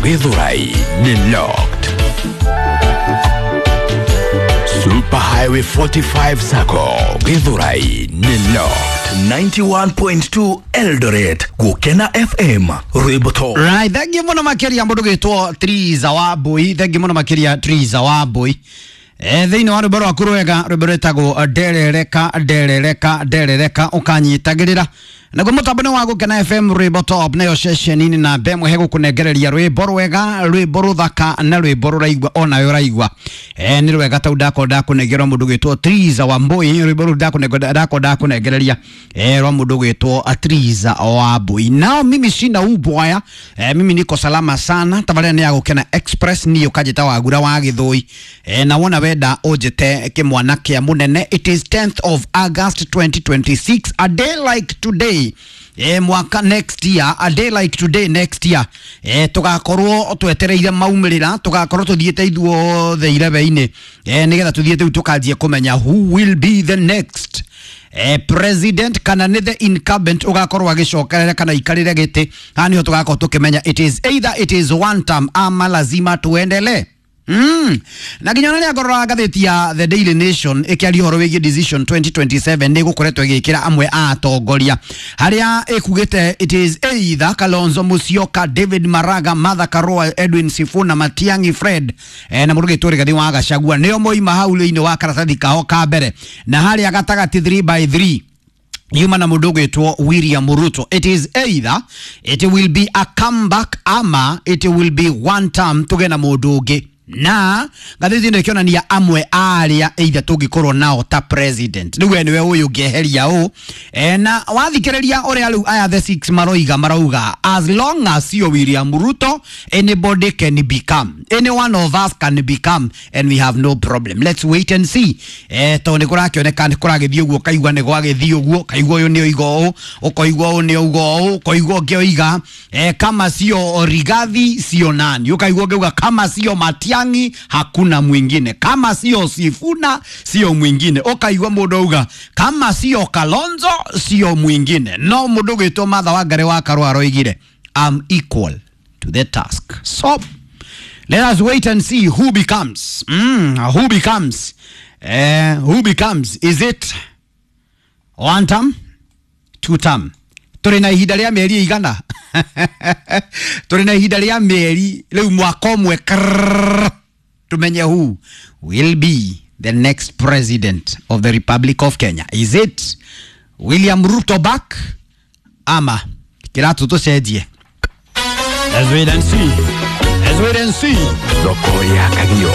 Githurai nĩ locked. Super Highway 45 Sacco Githurai nĩ locked. 91.2 Eldoret Gukena FM rwimbo to. Right, thank you muno makiria mundu gwitwo Triza wa Mbui, thank you muno makiria Triza wa Mbui. Thĩinĩ wa rwĩmbo rwaku rwega, rwĩmbo rwĩtagwo nderereka nderereka nderereka, ũkanyitagĩrĩra naguo mũtambo nĩ wa Gũkena FM rwĩmbo top, nayo ceceni-inĩ na mbemwe hegũkũnengereria rwĩmbo rwega, rwĩmbo rũthaka na rwĩmbo rũraigua onawe ũraigua. Nĩ rwega tau ndakorwo ndakũnengerwo mũndũ gwĩtwo Triza wa Mbui, rwĩmbo rũu ndakorwo ndakũnengereria rwa mũndũ gwĩtwo Triza wa Mbui. Nao mimi sina ubwaya, mimi niko salama sana. Tabarĩra nĩ ya Gũkena Express, niĩ ũkanjĩta Wagura wa Gĩthũi, na wona wenda ũnjĩte kĩmwana kĩa mũnene. It is 10th of August 2026, a day like today, mwaka next year, a day like today next year, tugakorwo twetereire maumĩrĩra, tugakorwo tuthiĩte ithuothe irebe-inĩ, nĩgetha tuthiĩte rĩu tũkanjie kũmenya who will be the next president, kana nĩ the incumbent ugakorwo agĩcokerera kana ikarĩre gĩtĩ. Haha nĩho tũgakorwo tũkĩmenya it is either it is one term ama lazima tuendelee. Na nginya ona ngorora ngathĩti ya The Daily Nation ĩkĩaria ũhoro wĩgiĩ decision 2027 nĩ gũkoretwo ĩgĩkĩra amwe a atongoria harĩa ĩkugĩte it is either Kalonzo Musyoka, David Maraga, Martha Karua, Edwin Sifuna, Matiang'i Fred, na mũndũ ũgĩtwo Rigathĩ wa Gachagua nĩo moima hau thĩinĩ wa karatathi kao ka mbere, na harĩa gatagatĩ 3 by 3 yuma na mũndũ ũgwĩtwo William Ruto. It is either it will be a comeback ama it will be one term tuge na mũndũ ũngĩ, na ngathĩti ĩno ĩkĩonania amwe arĩa either tũngĩkorwo nao ta president. Rĩu we nĩwe ũyũ ũngĩeheria ũ, na wathikĩrĩria ũrĩa rĩu aya the six maroiga, marauga as long as sio William Ruto, anybody can become, any one of us can become, and we have no problem. Let's wait and see. Tondũ nĩ kũrakĩoneka nĩ kũragĩthiĩ ũguo, kaigua nĩ gwagĩthiĩ ũguo, kaigua ũyũ nĩ oiga ũũ, ũkoigua ũũ nĩ auga ũũ, ũkoigua ũngĩ oiga, kama sio Rigathi sio nani, ũkaigua ũngĩ auga kama sio Matiang'i hakuna mwingine, kama sio Sifuna sio mwingine, ũkaigua mũndũ auga kama sio Kalonzo sio mwingine. No mũndũ ũgwĩtwo Martha Wangari wa Karua aroigire I'm equal to the task. So let us wait and see who becomes, who becomes, who becomes. Is it one term, two term? Tũrĩ na ihinda rĩa mĩeri igana, tũrĩ na ihinda rĩa mĩeri rĩu mwaka ũmwe krrrr, tumenye who will be the next president of the Republic of Kenya. Is it William Ruto back ama kĩratũ tũcenjie? Let's wait and see. Let's wait and see. Thoko ya Kagio.